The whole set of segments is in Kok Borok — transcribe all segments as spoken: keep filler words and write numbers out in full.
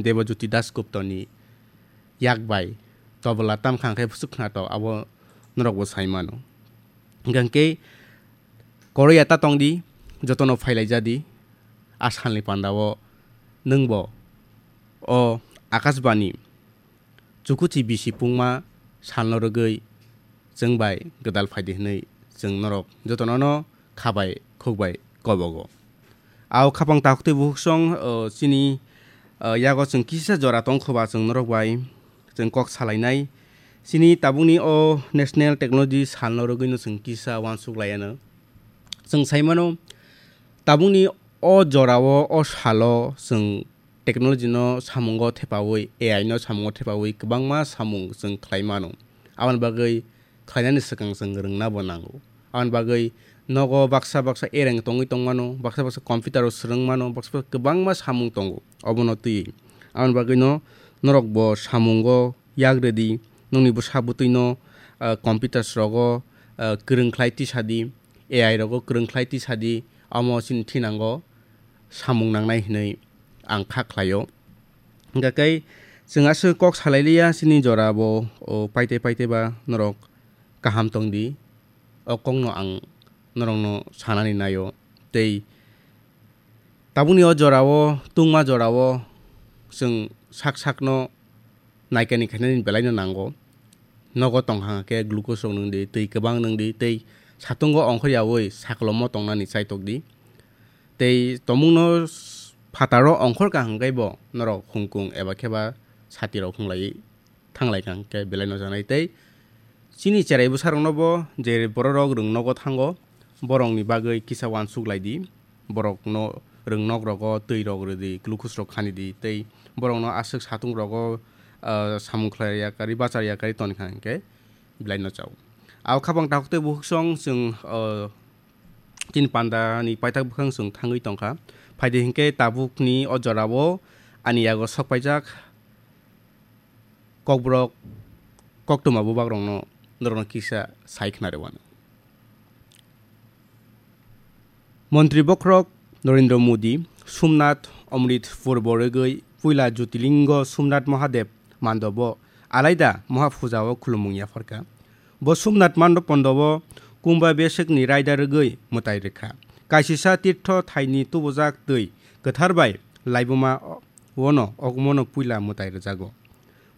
Debojyoti Dasguptani yak bai tobola tamkha hwnkhe bwswk khnatok, abo norokbo sai mano. Hwnkhe koroi ya ta tongdi, jotono phailaijadi, a salni pandao nwngbo o Akashbani chukuchi bisi pungma salno rwgwi chwng bai gwdal phaidi hwnwi chwng norok jotono no kha bai khuk bai kobogo. Ao khapang takhuk tei bukhuk song, o, chini, o, yago chwng kisa jora tongkhoba chwng norok bai chwng kok salainai. Chini tabukni o National Technology Salno rwgwino chwng kisa uansuk laiano. Chwng saimano, tabukni o jorao, o salo chwng technology no samungo thepaui, A I no samungo thepaui kwbangma samung chwng khlai mano. Aboni bagwi khlainani swkang chwng rwngna bo nango. Aboni bagwi nogo baksa baksa ereng tongwi tongmano, baksa baksa computer o swrwng mano, baksa baksa kwbangma samung tongo obono twiwi. Aboni bagwi no norok bo samungo yak rwdi, nokni bwsa bwtwi no, ah, computers rogo, ah, kwrwng khlai tisa di, A I rogo kwrwng khlai tisa di, omo chini thinango samung nangnai hinwi ang kha khlaio. Hwnkha khe chwng aswk kok salai liya, chini jora bo, o, paite paite ba norok kaham tong di, o kokno ang norokno sanani naio. Tei tabukni o jorao, tungma jorao chwng sak sakno naikani khainani belaino nango. Nogo tongkha khe glucose rok nwng di, twi kwbang nwng di, tei satungo ongkhor yaui saklomo tongnani chaitok di. Tei tomungno s-, phataro ongkhor kaham khe bo norok hungkung eba khe ba sati rok hunglai thanglai kha hwnkhe belai no chanai. Tei chini cherai bwsa rokno bo je borok rok rwng nogo thango, borokni bagwi kisa uansuk lai di, borokno rwng nok rogo twi rok rw di, glucose rok khani di, tei borokno aswk satung rogo, ah, samung khlai ya kari, bachar ya kari toni kha hwnkhe belai no chao. Ao khapang takhuk tei bukhuk song chwng, ah, chini panda ni paithak bwkhang chwng thangwi tongkha. Phaidi hinkhe tabukni o jorao ani yago sok paijak kokborok koktwma bubagrokno norokno kisa sai khna rwano. Montri bokhorok Narendra Modi Somnath Amritpur borogwi puila Jyotirlingo Somnath Mahadev mandobo alaida Mahapujao khulumung yapharkha. Bo Somnath Mandop Pondobo Kumbha Besekni raida rwgwi mwtai rwkha. Kaisisa tirtho thaini tubujak twi kwthar bai laibuma wono ogmono puila mwtai rwjago.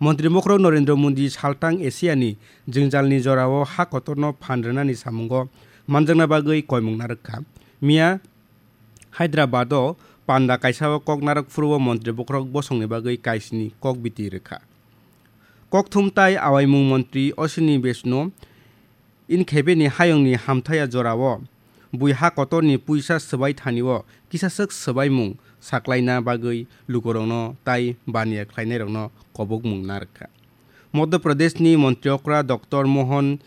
Montri Mokhorok Narendra Modi saltang Asiani jwngjalni jorao ha kotorno phan rwnani samungo manjakna bagwi koimung narwkha. Miya Hyderabado panda kaisao kok narwk phuru o Montri Bokhorok bosongni bagwi kaisini kok biti rwkha. Kokthum tai awaimung montri Ashwini Vaishnaw in khebeni hayungni hamthaya jorao bui ha kotorni puisa swbai thanio kisaswk swbaimung saklaina bagwi lukurokno tai baniya khlainairokno kobokmung narwkha. Madhya Pradeshni montri okra Doctor Mohan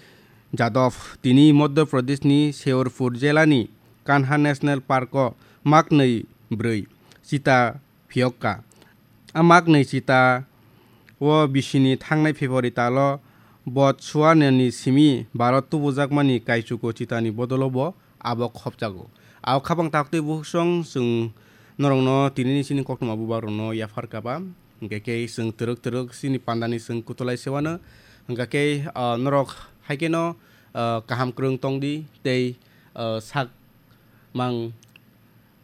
Jadhav tini Madhya Pradeshni Sheorpur jelani Kanha National Parko maknwi bwrwi chita phiyokka. A maknwi chita o bisini thangnai February talo Botswanani simi Bharat tubujakmani kaichugo chitani bodolo bo abo khopjago. Ao khapang taktwi bukhuk song chwng norokno tinini chini koktwma bubagrokno yaphar kaba. Hwnkhe khe chwng twrwk twrwk chini pandani chwng kutulai sewano. Hwnkhe khe, ah, norok hai kheno, ah, kaham kwrwng tongdi tei, ah, sak mang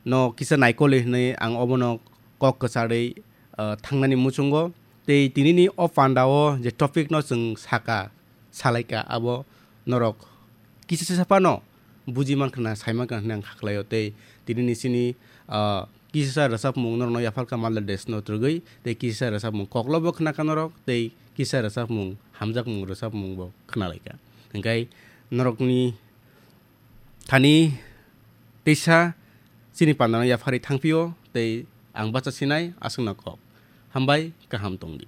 no kisa naikoli hwnwi ang obono kok kwcharwi, ah, thangnani muchungo. Tei tinini o pandao je topic no chwng saka, salaika, abo norok kisa sisa phano buji mankha na, sai mankha hwnwi ang khaklaio. Tei tinini chini, ah, kisa rwchapmung norokno yapharkha Malda Desh no twrwgwi, tei kisa rwchapmung koklobo khnakha norok, tei kisa rwchapmung, hamjakmung rwchapmung bo khnalaikha. Hwnkhe norokni thani teisa chini pandano yapharwi thangphio, tei ang bacha sinai aswkno kok. Hambai, kaham tongdi.